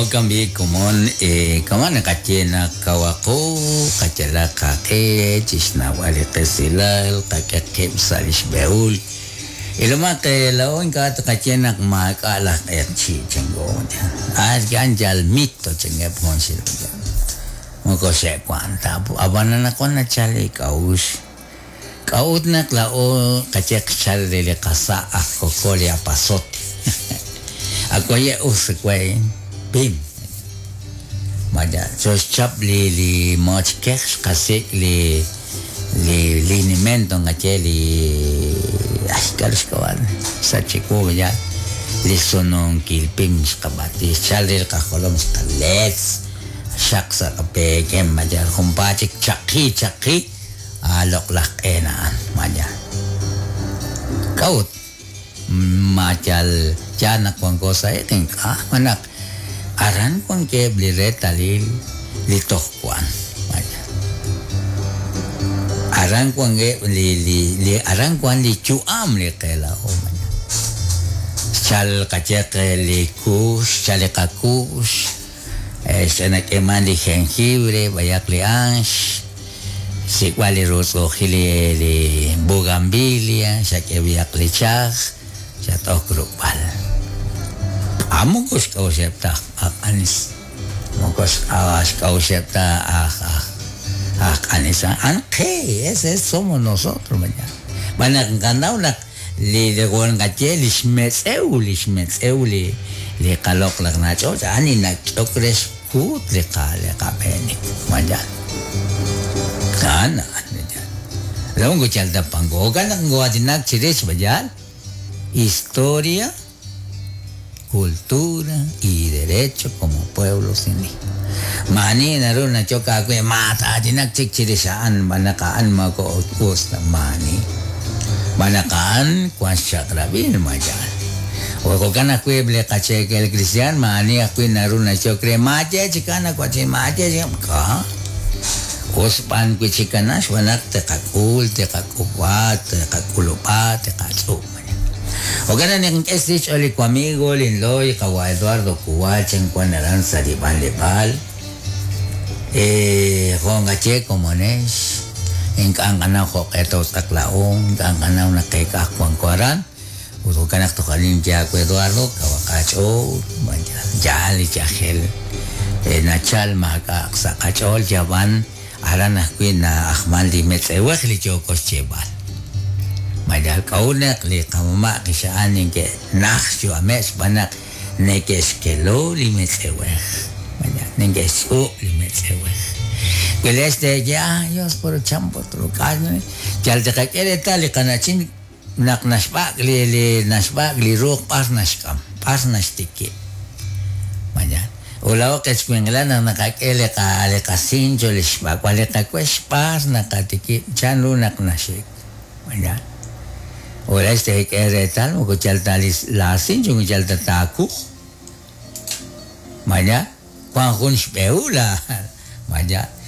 Jo'kan b'i' komon, kama' naqaye naq kawaqo, qayalaq qaq'e chi xnawb'al li qesilal, qak'e qib' sa' li xb'ehul. Ilomaq laa'o ink'a' tqaye naq maak'a' laj q'eqchi' chanko. A'an yal mito chankeb' junxil. Moko xe'wank ta. Ab'an anaqwan nachal li k'a'uxl. K'a'ut naq laa'o qaye qchal re li qasa' aj kokol li epazote. Ak waye' us we pim. Vaya, xoxchap li li mochkej xqasik' li li linimento nqaye li ay k'aru xk'ab'a' sach chiwu ya li sununkil pim xqab'ati xchal re li qajolom xqaletz xaq sa' qapeekem vaya junpaat chik chaqi chaqi a loq'laj q'een a'an vaya. K'a'ut ma yal yaal naq wanko sa' iq' ink'a' naq aran wankeb' li reetalil li toj wan vaya. Aran wankeb' li li li aran wan li yu'am li qe laa'o vaya. Xchal qayeq li kuux, xchal li qakuux, xnak'eeman li jengibre, b'ayaq li anx, xsik'b'al li rutz'u'ujil li li bugambilia, xak'e b'ayaq li chaj, xat'ok ruk'b'al. A moko xk'a'uxeb' ta aj q'anis, moko xk'a'uxeb' ta aj aj aj q'anis a'an qe, ese somos nosotros vaya. B'an naq nqanaw naq li wan nqaye li xmetz'ew, li xmetz'ew li li qaloq'laj nach'och' a'an li nak'ehok re xkuut li qa li qab'eenik vaya. A'an a'an vaya. Laa'o moko yal ta panko, jo'kan naq nkoo'aatinak chirix vaya historia, cultura y derecho como pueblo indígena. Maani naru nachok aawe maat'aatinak chik chirix a'an b'an naq a'an moko us ta maani. B'an naq a'an wan xchaq'rab'il vaya. Jo'kan ajwi' li qacheekel cristian maani ajwi' naru nachok re maaye chikan nawachin maaye chikan k'a. Us b'an wi' chikana xb'aan naq teqak'ul, teqak'ub'a, teqak'ulub'a, teqatz'ub'. Jo'kan naq nink'e xch'ool li wamigo linloy qawa' Eduardo Cuba chan wan aran sa' li b'anleb'aal. Jo' nqaye komonex, ink'a' nqanaw jo'q'e tootz'aq laa'o, ink'a' nqanaw naq qeek'aj wanko aran. Ut jo'kan naq toj arin yawe Eduardo kawaq aach'ool, vaya, yaal li yajel nachal maak'a' sa' qach'ool yab'an aran ajwi' na'ajman li metz'ewej li yooko xyeeb'al. Vaya, k'a'ut naq li qamama' qixa'an neke'naj xyu'ameb' xb'aan naq neke'xkelo li metz'ewej. Vaya, neke'xtz'ub' li metz'ewej. Wi lex teeye, ah, Dios puro champo truk'al, yal tiqak'e reetal li qana'chin naq naxb'ak' li li naxb'ak' li ruuq b'ar naxk'am, b'ar naxtikib'. Vaya, ut laa'o qechwinqilal naq naqak'e li qa li qasincho li xb'ak'b'al li qawex b'ar naqatikib' chanru naq naxik. Vaya. Ut lex teek'e reetal moko yal ta li laasincho moko yal ta taakuj. Vaya, wan jun xb'ehul la vaya.